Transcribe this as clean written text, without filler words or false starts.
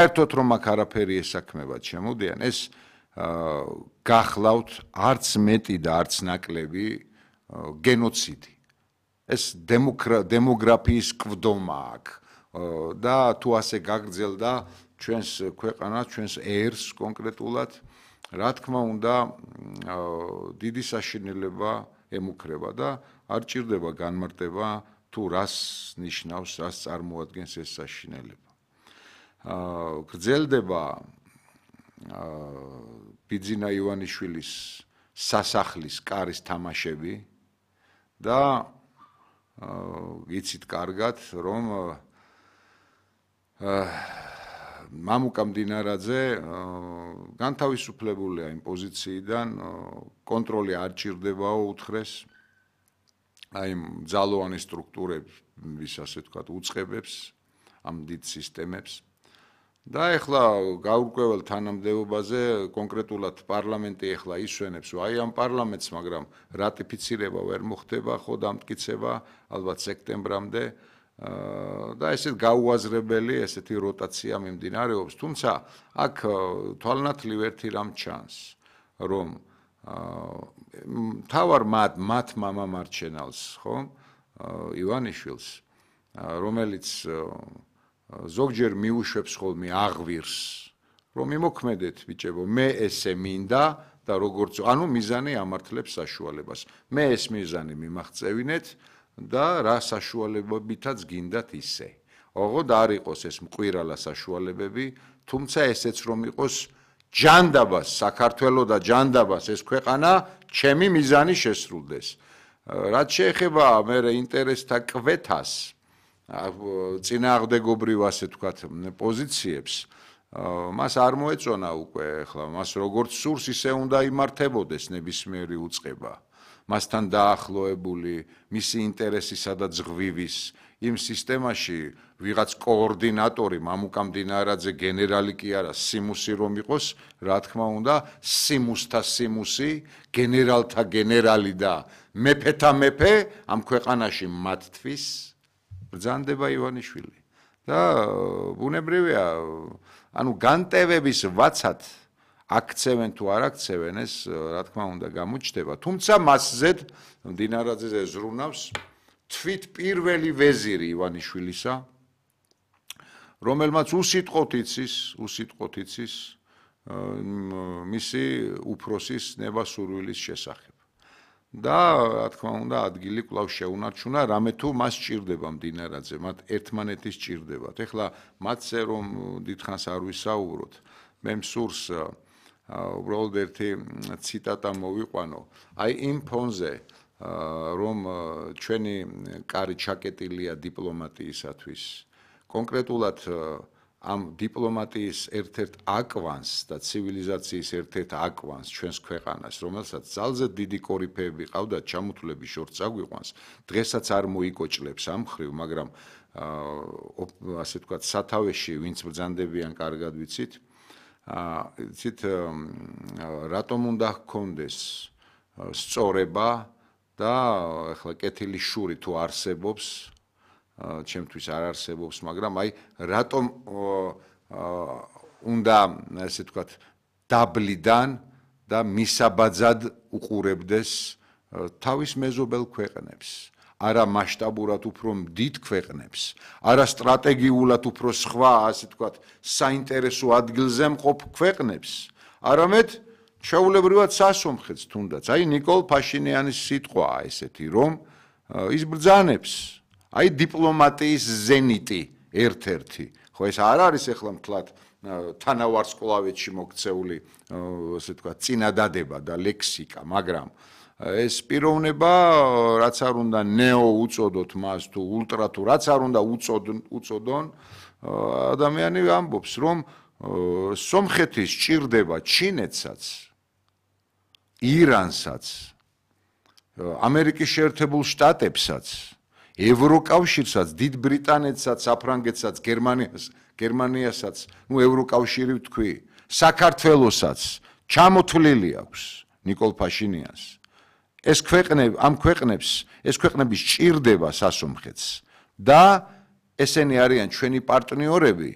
საერთოდ რომ აქ არაფერი ესაქმებად შემოდიან, ეს გახლავთ არც მეტი და არც ნაკლები გენოციდი. ეს დემოგრაფიის კვდომა აქ და თუ ასე გაგრძელდა ჩვენს ქვეყანას, ჩვენს ერს კონკრეტულად, რა თქმა უნდა, დიდი საშინელება ემუქრება და არ ჭირდება განმარტება თუ რას ნიშნავს, რას წარმოადგენს ეს საშინელება. გრძელდება ბიძინა ივანიშვილის სასახლის კარის თამაშები და იცით კარგად, რომ მამუკა მდინარაძე განთავისუფლებულია იმ პოზიციიდან, კონტროლი არ ჭირდებაო უთხრეს აი ძალოვანი სტრუქტურების, ასე ვთქვათ, უწყებებს, ამ დიდ სისტემებს. და ეხლა გაურკვეველ თანამდებობაზე კონკრეტულად პარლამენტი ეხლა ისვენებს, აი ამ პარლამენტს, მაგრამ რატიფიცირება ვერ მოხდება, ხო დამტკიცება ალბათ სექტემბრამდე და ესეთ გაუაზრებელი ესეთი როტაცია მიმდინარეობს, თუმცა აქ თვალნათლივ ერთი რამ ჩანს, რომ თავარ მათ მამამარჩენელს, ხო, ივანიშვილს, რომელიც ზოგჯერ მიუშვებს ხოლმე აღვირს, რომ იმოქმედეთ ბიჭებო, მე ესე მინდა და როგორც, ანუ მიზანი ამართლებს საშუალებას. მე ეს მიზანი მიმაღწევინეთ და რა საშუალებებითაც გინდათ ისე. ოღონდ არ იყოს ეს მკვირალა საშუალებები, თუმცა ესეც რომ იყოს ჯანდაბას, საქართველოს და ჯანდაბას ეს ქვეყანა ჩემი მიზანი შესრულდეს. რაც შეეხება მე ინტერესთა კვეთას, წინააღმდეგობრივ ასე ვთქვათ პოზიციებს, მას არ მოეწონა უკვე ახლა, მას როგორც სურს ისე უნდა იმართებოდეს ნებისმიერი უწყება. მასთან დაახლოებული, მისი ინტერესისა და ზღვივის იმ სისტემაში ვიღაც კოორდინატორი, მამუკა მდინარაძე გენერალი კი არა, სიმუსი რომ იყოს, რა თქმა უნდა, სიმუსთა სიმუსი, გენერალთა გენერალი და მეფეთა მეფე ამ ქვეყანაში მათთვის ბრძანდება ივანიშვილი. და ბუნებრივია, ანუ განტევების ვაცად აქცევენ თუ არ აქცევენ, ეს რა თქმა უნდა გამოჩნდება, თუმცა მასზედ მდინარაძეზე ზრუნავს თვით პირველი ვეზირი ივანიშვილისა, რომელმაც უსიტყვოდ იცის მისი უფროსის ნებასურვილის შესახებ. და რა თქმა უნდა ადგილი კვლავ შეუნარჩუნა, რამე თუ მას ჭირდება მდინარაძე, მათ ერთმანეთის ჭირდებათ. ეხლა მათზე რომ დიდხანს არ ვისაუბროთ, მე მსურს უბრალოდ ერთი ციტატა მოვიყვანო. აი იმ ფონზე, რომ ჩვენი კარი ჩაკეტილია დიპლომატიისათვის, კონკრეტულად ამ დიპლომატიის ერთ-ერთ აკვანს და ცივილიზაციის ერთ-ერთ აკვანს ჩვენს ქვეყანას, რომელსაც ძალზე დიდი კორიფეები ყავდათ, ჩამოთვლების შორს აგვიყვანს, დღესაც არ მოიკოჭლებს ამ ხრივ, მაგრამ ასე ვთქვათ, სათავეში ვინც ბრძანდებიან, კარგად ვიცით, იცით, რატომ უნდა ჰქონდეს სწორება და ახლა კეთილი შური თუ არსებობს, ჩემთვის არ არსებობს, მაგრამ აი რატომ უნდა ასე ვთქვათ დაბლიდან და მისაბაძად უყურებდეს თავის მეზობელ ქვეყნებს, არა მასშტაბურად უფრო დიდ ქვეყნებს, არა სტრატეგიულად უფრო სხვა, ასე ვთქვათ, საინტერესო ადგილზე მყოფ ქვეყნებს, არამედ ჩვეულებრივად სასომხეთს თუნდაც. აი ნიკოლ ფაშინიანის სიტყვაა ესეთი, რომ ის ბრძანებს აი დიპლომატიის ზენიტი ერთ-ერთი. ხო ეს არ არის ახლა მთლად თანავარსკვლავედში მოქცეული, ასე ვთქვათ, წინადადება და ლექსიკა, მაგრამ ეს პიროვნება, რაც არ უნდა ნეო უწოდოთ მას თუ ულტრა თუ რაც არ უნდა უწოდონ, ადამიანი ამბობს, რომ სომხეთის ჭირდება ჩინეთსაც, ირანსაც, ამერიკის შეერთებულ შტატებსაც, ევროკავშირსაც, დიდ ბრიტანეთსაც, საფრანგეთსაც, გერმანიასაც, ნუ ევროკავშირი ვთქვი, საქართველოსაც ჩამოთვლილი აქვს ნიკოლ ფაშინიანს. ამ ქვეყნების ჭირდება სასომხეთს და ესენი არიან ჩვენი პარტნიორები